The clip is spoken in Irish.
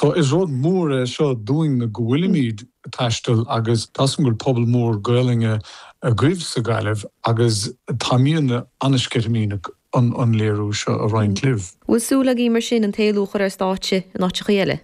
So is rud mór é seo dúinn go bhfuilimid ag taisteal agus tá 's agam go bhfuil pobal mór Gaelainne agaibh sa Ghaillimh agus táimidne an-sceitimíneach an léiriú seo a roinnt libh. Bhfuil súil agaibh mar sin an t-éilliú a chur ar stáitse in áiteachaí eile?